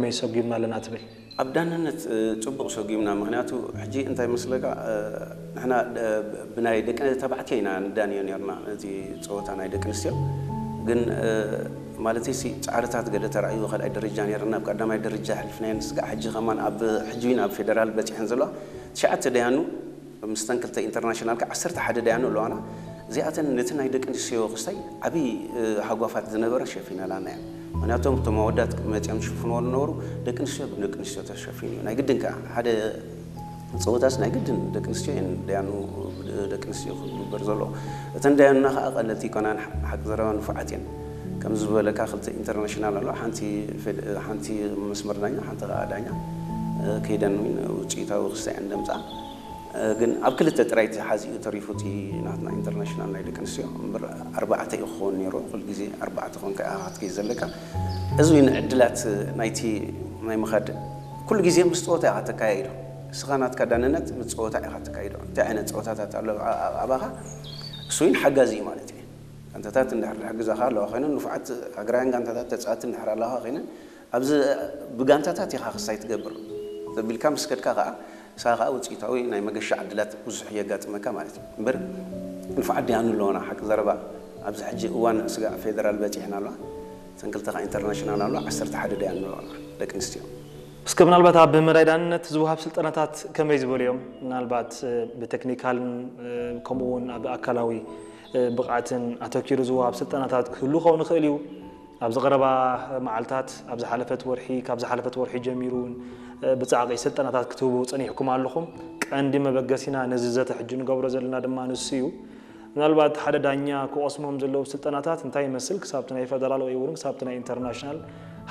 ከመይ ሰጒምና ኣለና ትብል? ኣብ ዳንነት ጽቡቕ ሰጒምና። ምኽንያቱ ሕጂ እንታይ መስለካ፣ ንሕና ብናይ ደቂ ተባዕትዮ ኢና ንዳንዮ ነርና። እቲ ጸወታ ናይ ደቂ ኣንስትዮ ግን ማለት ሲ ጻዕርታት ገለ ተራእዩ ካልኣይ ደረጃ ነርና፣ ኣብ ቀዳማይ ደረጃ ሕሊፍናዮ ንስጋዕ። ሕጂ ከማን ኣብ ሕጂ ኣብ ፌደራል በጺሐን ዘለዋ ትሽዓተ ደያኑ፣ ምስተን ክልተ ኢንተርናሽናል ከ ዓሰርተ ሓደ ደያኑ ኣለዋና። እዚኣተን ነቲ ናይ ደቂ ኣንስትዮ ክስታይ ዓብዪ ሃጓፋት ዝነበረ ሸፊናላና እየን። ምክንያቱም እቶም ኣወዳት መፂኦም ዝሽፍንዎ ዝነበሩ፣ ደቂ ኣንስትዮ ብደቂ ኣንስትዮ ተሸፊኑ እዩ። ናይ ግድን ከዓ ሓደ ፀወታስ ናይ ግድን ደቂ ኣንስትዮ እየን ደያኑ፣ ደቂ ኣንስትዮ ክግበር ዘለዎ። እተን ደያኑና ከዓ ቀለልቲ ይኮናን፣ ሓቂ ዘረባ ንፉዓት እየን። ከም ዝበለካ ክልተ ኢንተርናሽናል ኣሎ፣ ሓንቲ መስመር ዳኛ፣ ሓንቲ ከዓ ዳኛ ከይደን ውፅኢታዊ ክስታይ እየን ደምፃ። ግን ኣብ ክልተ ጥራይ ተሓዚኡ ተሪፉ እቲ ናትና ኢንተርናሽናል ናይ ደቂ ኣንስትዮ እምበር ኣርባዕተ እዩ ክኸውን ነይሩ። ኩሉ ግዜ ኣርባዕተ ኮንካ ኢኻ ክትከይድ ዘለካ። እዚ እውን ዕድላት ናይቲ ናይ ምኻድ ኩሉ ግዜ ምስ ፀወታ ኢኻ ተካያይዶ። እስኻ ናትካ ዳንነት ምስ ፀወታ ኢኻ ተካይዶ። እንታይ ዓይነት ፀወታታት ኣሎ ኣባኻ እሱ እውን ሓጋዚ እዩ ማለት እዩ። ጋንታታት እንድሕር ዝሕግዛኻ ኣለዋ ኮይነን ንፉዓት ሃገራውያን ጋንታታት ተፃወቲ እንድሕር ኣለኻ ኮይነን ኣብዚ ብጋንታታት ኢኻ ክስታይ ትገብር ዘቢልካ ምስ ከድካ ከዓ ንስኻ ከዓ ውፅኢታዊ ናይ መገሻ ዕድላት ብዙሕ የጋጥመካ ማለት እዩ። እምበር ንፉዓት ደያኑ ኣለዋና ሓቂ ዘረባ ኣብዚ ሕጂ እዋን ስጋዕ ፌደራል በፂሕና ኣለዋ። እተን ክልተ ከዓ ኢንተርናሽናል ኣለዋ፣ ዓሰርተ ሓደ ደያኑ ኣለዋና ደቂ ኣንስትዮ። እስከ ምናልባት ኣብ መዳይ ዳንነት ዝወሃብ ስልጠናታት ከመይ ዝበሉ እዮም? ምናልባት ብቴክኒካልን ከምኡ እውን ኣብ ኣካላዊ ብቕዓትን ኣተኪሩ ዝወሃብ ስልጠናታት ክህሉ ክኸውን ይኽእል እዩ። ኣብዚ ቀረባ መዓልታት ኣብ ዝሓለፈት ወርሒ ካብ ዝሓለፈት ወርሒ ጀሚሩ እውን ብጻዕቂ ስልጠናታት ክትህቡ ጸኒሕኩም ኣለኹም። ቀንዲ መበገሲና ነዚ ዘተ ሕጂ ንገብሮ ዘለና ድማ ንሱ እዩ። ምናልባት ሓደ ዳኛ ክቐስሞም ዘለዉ ስልጠናታት እንታይ ይመስል ክሳብቲ ናይ ፈደራል ወይ እውን ክሳብቲ ናይ ኢንተርናሽናል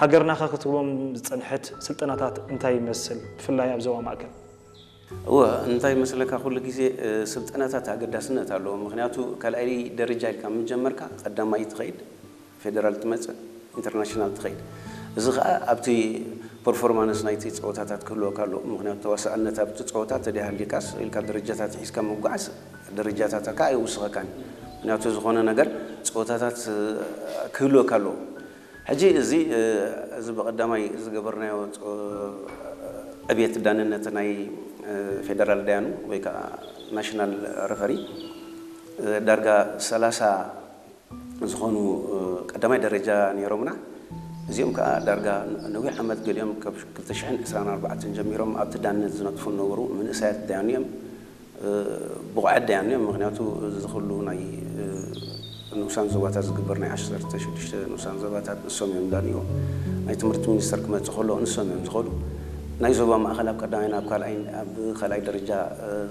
ሃገርና ከ ክትህቦም ዝጸንሐት ስልጠናታት እንታይ ይመስል ብፍላይ ኣብ ዞባ ማእከል? እወ እንታይ መስለካ ኩሉ ግዜ ስልጠናታት ኣገዳስነት ኣለዎ። ምክንያቱ ካልኣይ ደረጃ ኢልካ ምጀመርካ ቀዳማይ ትኸይድ ፌደራል ትመፅእ ኢንተርናሽናል ትኸይድ። እዚ ከዓ ኣብቲ ፐርፎርማንስ ናይቲ ፀወታታት ክህልወካ ኣለዎ። ምክንያቱ ተዋሳእነት ኣብቲ ፀወታ ተደይሃልዩካስ ኢልካ ደረጃታት ሒዝካ ምጉዓዝ ደረጃታትካ ኣይውስኸካን። ምክንያቱ ዝኾነ ነገር ፀወታታት ክህልወካ ኣለዎ። ሕጂ እዚ እዚ ብቐዳማይ ዝገበርናዮ ዕብየት ዳንነት ናይ ፌደራል ዳያኑ ወይ ከዓ ናሽናል ረፈሪ ዳርጋ ሰላሳ ዝኾኑ ቀዳማይ ደረጃ ነይሮምና። እዚኦም ከዓ ዳርጋ ነዊሕ ዓመት ገሊኦም ካብ ክልተ ሽሕን ዕስራን ኣርባዕተን ጀሚሮም ኣብቲ ዳንነት ዝነጥፉ ነበሩ። መንእሰያት ዳያኑ እዮም። ብቑዓት ደያኑ እዮም። ምክንያቱ እዚ ኩሉ ናይ ንኡሳን ዞባታት ዝግበር ናይ ዓሰርተ ሽዱሽተ ንኡሳን ዞባታት ንሶም እዮም ዳንዎ። ናይ ትምህርቲ ሚኒስተር ክመፅእ ከሎ ንሶም እዮም ዝኸዱ። ናይ ዞባ ማእኸል ኣብ ቀዳማይ ናብ ካልኣይ ኣብ ካልኣይ ደረጃ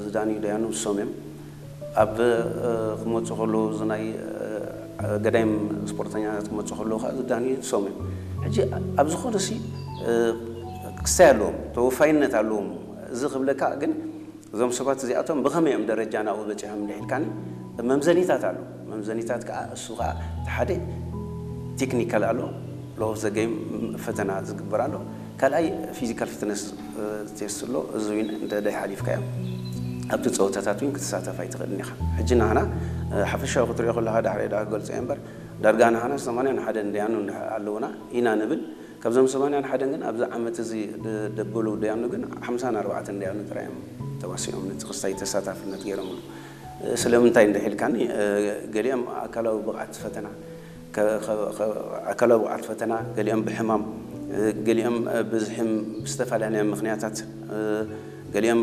ዝዳንዩ ደያኑ ንሶም እዮም። ኣብ ክመፁ ከለዉ እዚ ናይ ገዳይም ስፖርተኛታት ክመፁ ከለዉ ከዓ ዝዳንዩ ንሶም እዮም። ሕጂ ኣብ ዝኾነ ሲ ክስታይ ኣለዎም፣ ተወፋይነት ኣለዎም። እዚ ክብለካ ግን እዞም ሰባት እዚኣቶም ብኸመይ እዮም ደረጃ ናብኡ በፂሖም እንድሕልካኒ መምዘኒታት ኣሎ። መምዘኒታት ከዓ እሱ ከዓ እቲ ሓደ ቴክኒካል ኣሎ፣ ሎ ኦፍ ዘ ጌም ፈተና ዝግበር ኣሎ። ካልኣይ ፊዚካል ፊትነስ ቴስት ኣሎ። እዚ እውን እንተ ደይሓሊፍካዮ ኣብቲ ፀወታታት እውን ክትሳተፍ ኣይትኽእልን ኢኻ። ሕጂ ናህና ሓፈሻዊ ክትሪኦ ከለካ ዳሕረ ዳ ክገልፆ እየ እምበር ዳርጋ ናህና ሰማንያን ሓደን ደያኑ ኣለውና ኢና ንብል። ካብዞም ሰማንያን ሓደን ግን ኣብዚ ዓመት እዚ ደበሉ ደያኑ ግን ሓምሳን ኣርባዕተን ደያኑ ጥራይ እዮም ተዋሲኦም ነቲ ክስታይ ተሳታፍነት ገይሮምሉ። ስለምንታይ እንድሕልካኒ ገሊኦም ኣካላዊ ብቕዓት ፈተና ኣካላዊ ብቕዓት ፈተና ገሊኦም ብሕማም ገሊኦም ብዝሕም ብዝተፈላለየ ምክንያታት ገሊኦም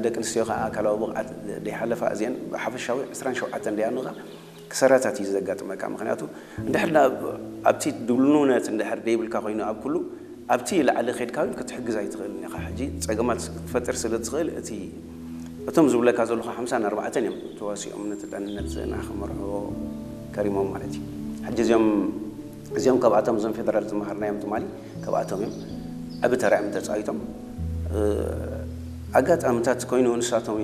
ደቂ ኣንስትዮ ከዓ ኣካላዊ ብቕዓት ደይሓለፋ እዚአን ብሓፈሻዊ ዕስራን ሸውዓተን ደያኑ ከዓ ክሰራታት እዩ ዘጋጥመካ። ምክንያቱ እንድሕር ኣብቲ ድልውነት እንድሕር ደይብልካ ኮይኑ ኣብ ኩሉ ኣብቲ ላዕሊ ከድካ እውን ክትሕግዝ ኣይትኽእልን ኢኻ። ሕጂ ፀገማት ክትፈጥር ስለ ትኽእል እቲ እቶም ዝብለካ ዘለኹ ሓምሳን ኣርባዕተን እዮም ተዋሲኦም ነቲ ዳንነት ንዓ ክመርሕዎ ከሪሞም ማለት እዩ። ሕጂ እዚኦም እዚኦም ካብኣቶም እዞም ፌደራል ዝመሃርናዮም ትማሊ ካብኣቶም እዮም ዓቢ ተራ እዮም ተፃዊቶም። ኣጋጣምታት ኮይኑ ንሳቶም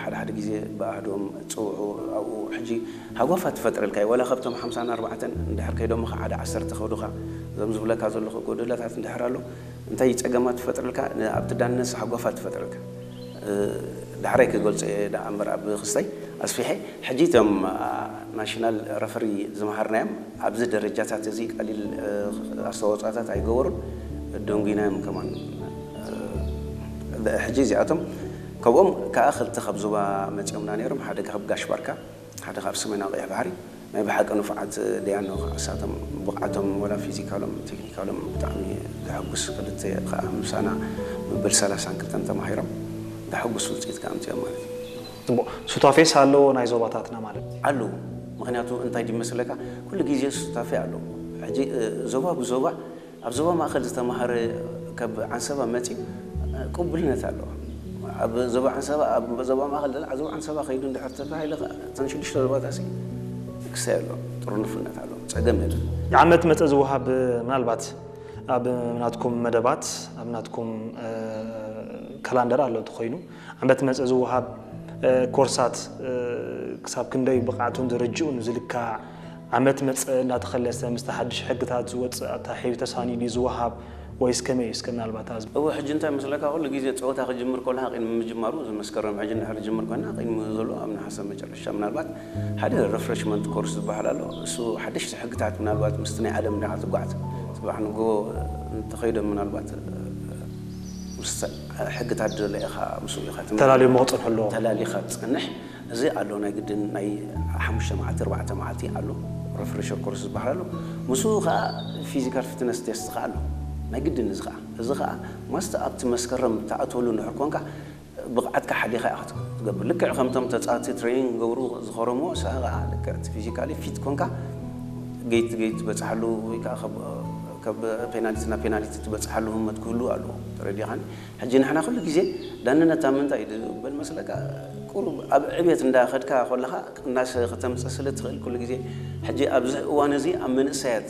ሓደ ሓደ ግዜ ብኣህዶም ፅውዑ ኣብኡ ሕጂ ሃጓፋት ትፈጥረልካ እዩ። ዋላ ካብቶም ሓምሳን ኣርባዕተን እንድሕር ከይዶም ሓደ ዓሰርተ ከዱኻ እዞም ዝብለካ ዘለኹ ጎደላታት እንድሕር ኣሎ እንታይ ፀገማት ትፈጥረልካ ኣብቲ ዳንነስ ሃጓፋት ትፈጥረልካ። ዳሕራይ ክገልፆ እየ ደኣ እምበር ኣብ ክስተይ ኣስፊሐ። ሕጂ እቶም ናሽናል ረፈሪ ዝመሃርናዮም ኣብዚ ደረጃታት እዚ ቀሊል ኣስተዋፅኦታት ኣይገበሩን፣ ደንጉናዮም ከማን። ሕጂ እዚኣቶም ካብኦም ከዓ ክልተ ካብ ዞባ መፂኦምና ነይሮም። ሓደ ካብ ጋሽ ባርካ፣ ሓደ ካብ ሰሜናዊ ቀይሕ ባሕሪ። ናይ ብሓቂ ንፉዓት ደያኑ ከዓ እሳቶም ብቕዓቶም ወላ ፊዚካሎም ቴክኒካሎም ብጣዕሚ ዘሐጉስ፣ ክልተ ከዓ ምሳና መበል ሰላሳን ክልተን ተማሂሮም ዘሐጉስ ውፅኢት ከዓ ኣምፂኦም ማለት እዩ። ፅቡቅ። ሱታፌስ ኣለዎ ናይ ዞባታትና ማለት እዩ። ኣለዉ። ምክንያቱ እንታይ ድዩ መስለካ፣ ኩሉ ግዜ ሱታፌ ኣለዎ። ሕጂ እ፣ ዞባ ብዞባ፣ ኣብ ዞባ ማእከል ዝተማሃረ ካብ ዓንሰባ መፅዩ እ፣ ቅቡልነት ኣለዎ። ኣብ ዞባ ዓንሰባ፣ ኣብ ዞባ ማእከል ደላ ዞባ ዓንሰባ ከይዱ እንድሕር ተባሂሉ ከ እተን ሽዱሽተ ዞባታት ሲ ክሳይ ኣሎ፣ ጥርንፍነት ኣሎ፣ ፀገም የለን። ዓመት መፀ ዝወሃብ ምናልባት ኣብ ናትኩም መደባት ኣብ ናትኩም እ፣ ካላንደር ኣሎ ተኮይኑ ዓመት መፀ ዝወሃብ እ፣ ኮርሳት እ፣ ክሳብ ክንደይ ብቕዓቱን ደረጅኡን ዝልካዕ ዓመት መፀ እንዳተኸለሰ ምስቲ ሓድሽ ሕግታት ዝወፅእ ኣታሒዙ ተሳኒዱ ዝወሃብ ወይስ ከመይ እዩ? እስከ ምናልባት ኣዝ እወ ሕጂ እንታይ መስለካ፣ ኩሉ ግዜ ፀወታ ክጅምር ከሎ ቅድሚ ምጅማሩ፣ እዚ መስከረም ሕጂ እንድሕር ዝጅምር ኮይና ቅድሚ ዘሎ ኣብ ነሓሰ መጨረሻ ምናልባት ሓደ ሪፍሬሽመንት ኮርስ ዝበሃል ኣሎ። እሱ ሓደሽቲ ሕግታት ምናልባት ምስቲ ናይ ዓለም እንዳ ክትጓዓዝ፣ ፅባሕ ንጎ እንተኸይዶም ምናልባት ምስ ሕግታት ደለ ኢኻ ምስኡ ኢኻ ትምርሕ። ተላልዮሞ ክፀንሑ ኣለዎም። ተላሊኻ ትፀንሕ። እዚ ኣሎ ናይ ግድን ናይ ሓሙሽተ መዓልቲ ኣርባዕተ መዓልቲ ኣሎ፣ ሪፍሬሸር ኮርስ ዝበሃል ኣሎ። ምስኡ ከዓ ፊዚካል ፊትነስ ቴስት ከዓ ኣሎ ናይ ግድን። እዚ ከዓ እዚ ከዓ ማስተ ኣብቲ መስከረም ትኣትወሉ እንድሕር ኮንካ ብቕዓትካ ሓሊኻ ኢኻ ትገብር። ልክዕ ከምቶም ተፃወቲ ትሬኒንግ ገብሩ ዝኸረምዎ ንስኻ ከዓ ልክዕ እቲ ፊዚካሊ ፊት ኮንካ ገይት ገይት ትበፅሓሉ ወይ ከዓ ካብ ፔናልቲ ናብ ፔናልቲ ትበፅሓሉ ህመት ክህሉ ኣለዎ። ተረዲኻኒ? ሕጂ ንሕና ኩሉ ግዜ ዳንነት ኣብ ምንታይ እዩ ዝበል መስለካ? ቁሩብ ኣብ ዕብየት እንዳኸድካ ከለኻ ቅናሰ ክተምፅእ ስለ ትኽእል ኩሉ ግዜ። ሕጂ ኣብዚ እዋን እዚ ኣብ መንእሰያት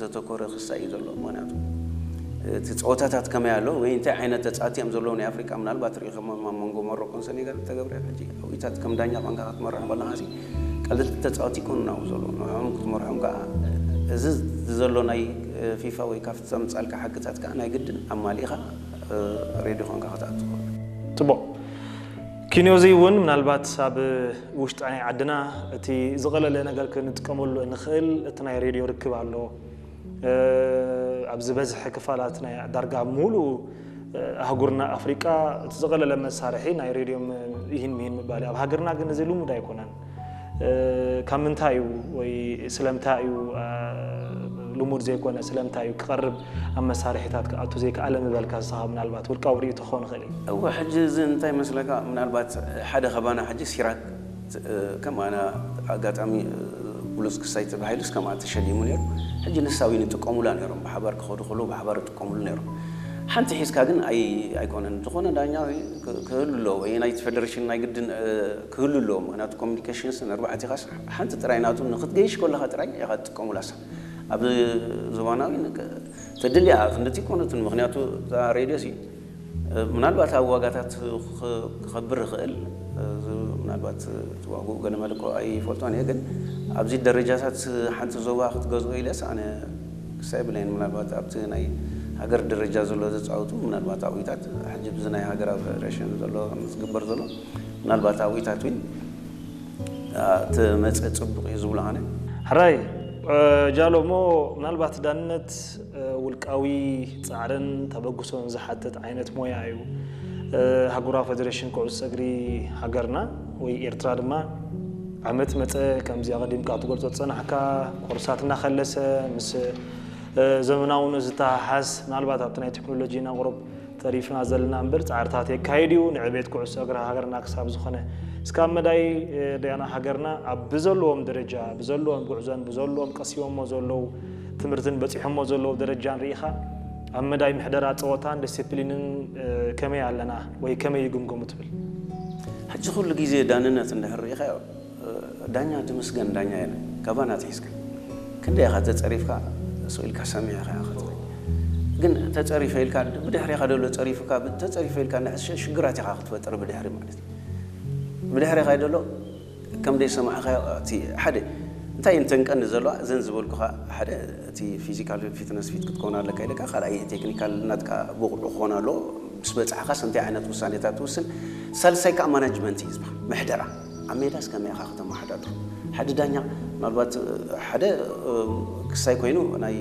ዘተኮረ ክሳይ እዩ ዘሎ። ምክንያቱ እቲ ፀወታታት ከመይ ኣሎ ወይ እንታይ ዓይነት ተፃወቲ እዮም ዘለዉ ናይ ኣፍሪቃ ምናልባት ርኢኹም ኣብ መንጎ ሞሮኮን ሰኔጋል ተገብረ። ሕጂ ኣዊታት ከም ዳኛ ቋንካ ክትመርሖም ከለኻ ሲ ቀልልቲ ተፃወቲ ይኮኑ ናብኡ ዘለዉ ንዕኦም ክትመርሖም ከዓ እዚ ዘሎ ናይ ፊፋ ወይ ካፍ ዘምፃልካ ሕግታት ከዓ ናይ ግድን ኣማሊእኻ ሬዲ ኾንካ ክትኣቱ ትኽእል። ፅቡቕ። ኪንዮዚ እውን ምናልባት ኣብ ውሽጢ ናይ ዓድና እቲ ዝቐለለ ነገር ክንጥቀመሉ እንኽእል እቲ ናይ ሬድዮ ርክብ ኣሎ። ኣብ ዝበዝሐ ክፋላት ናይ ዳርጋ ሙሉእ ኣህጉርና ኣፍሪቃ እቲ ዝቐለለ መሳርሒ ናይ ሬድዮ ይህን ምሂን ምባል እዩ። ኣብ ሃገርና ግን እዚ ልሙድ ኣይኮነን። ካብ ምንታይ እዩ ወይ ስለምንታይ እዩ ልሙድ ዘይኮነ? ስለምንታይ እዩ ክቐርብ ኣብ መሳርሒታት ክኣቱ ዘይከኣለ ምበልካ ንስኻ ምናልባት ውልቃዊ ርእይቶ ክኸውን ይኽእል እዩ። እወ፣ ሕጂ እዚ እንታይ መስለካ፣ ምናልባት ሓደ ከባና ሕጂ ሲራክ ከም ኣነ ኣጋጣሚ ብሉጽ ክሳይ ተባሂሉስ ከምኣ ተሸሊሙ ነይሩ። ሕጂ ንሳ እውን ይጥቀሙላ ነይሮም፣ ብሓባር ክኸዱ ከለዉ ብሓባር ይጥቀሙሉ ነይሮም። ሓንቲ ሒዝካ ግን ኣይ ኣይኮነን። ዝኾነ ዳኛ ክህሉ ኣለዎ ወይ ናይቲ ፌደሬሽን ናይ ግድን ክህሉ ኣለዎ። ምክንያቱ ኮሚኒኬሽንስ ንኣርባዕቲኻስ ሓንቲ ጥራይ ናቱ ንክትገይሽ ከለኻ ጥራይ ኢኻ ትጥቀሙላ። እሳ ኣብ ዞባናዊ ተድልያ ክንድቲ ኮነትን። ምክንያቱ እዛ ሬድዮ ሲ ምናልባት ኣብ ዋጋታት ክኸብር ይኽእል፣ ምናልባት እቲ ዋግኡ ገለ መለ እኮ ኣይፈልጦን እየ፣ ግን ኣብዚ ደረጃታት ሓንቲ ዞባ ክትገዝኦ ኢለስ ኣነ ክሳይ ብለይን። ምናልባት ኣብቲ ናይ ሃገር ደረጃ ዘሎ ዘፃወቱ ምናልባት ኣዊታት ሕጂ ብዚ ናይ ሃገራዊ ፌደሬሽን ዘሎ ዝግበር ዘሎ ምናልባት ኣዊታት እውን ትመፅእ ፅቡቕ እዩ ዝብሎ ኣነ። ሕራይ ጃሎ፣ እሞ ምናልባት ዳንነት ውልቃዊ ፃዕርን ተበግሶን ዝሓትት ዓይነት ሞያ እዩ። ሃገራዊ ፌደሬሽን ኩዕሶ እግሪ ሃገርና ወይ ኤርትራ ድማ ዓመት መፀ ከምዚ ኣቐዲምካ ትገልጾ ዝጸናሕካ ኮርሳት እናኸለሰ ምስ ዘመናውነት ዝተሓሓዝ ምናልባት ኣብቲ ናይ ቴክኖሎጂ ኢና ቁሩብ ተሪፍና ዘለና እምበር ጻዕርታት የካይድ እዩ ንዕቤት ኩዕሶ እግሪ ሃገርና ክሳብ ዝኾነ እስካብ መዳይ ደያና ሃገርና ኣብ ብዘለዎም ደረጃ ብዘለዎም ጉዕዞን ብዘለዎም ቀሲቦሞ ዘለዉ ትምህርትን በጺሖሞ ዘለዉ ደረጃን ርኢኻ ኣብ መዳይ ምሕደራ ጸወታን ዲሲፕሊንን ከመይ ኣለና ወይ ከመይ ይግምገሙ ትብል? ሕጂ ኩሉ ግዜ ዳንነት እንድሕር ርኢኻዮ ዳኛ ድምስገን ዳኛ የለን። ካባና ኣትሒዝካ ክንደይ ኢኻ ተጸሪፍካ ስቕ ኢልካ ሰሚዕኻ ኢኻ ትኸይድ። ግን ተጸሪፈ ኢልካ ብድሕሬኻ ደሎ ጸሪፉካ ተጸሪፈ ኢልካ ሽግራት ኢኻ ክትፈጥር ብድሕሪ ማለት እዩ። ብድሕሬኻ ደሎ ከም ደይሰማዕኻዮ እቲ ሓደ እንታይ እንተን ቀንዲ ዘለዋ እዘን ዝበልኩኻ ሓደ እቲ ፊዚካል ፊትነስ ፊት ክትከውን ኣለካ ኢለካ ካልኣይ ቴክኒካል ናትካ ብቑዕ ክኾን ኣለዎ። ምስ በጻሕኻስ እንታይ ዓይነት ውሳኔታት ትውስን? ሳልሳይ ከዓ ማናጅመንት እዩ ዝበሃል ምሕደራ። ኣብ ሜዳስ ከመይ ኢኻ ከተመሓዳድሮ? ሓደ ዳኛ ምናልባት ሓደ ክሳይ ኮይኑ ናይ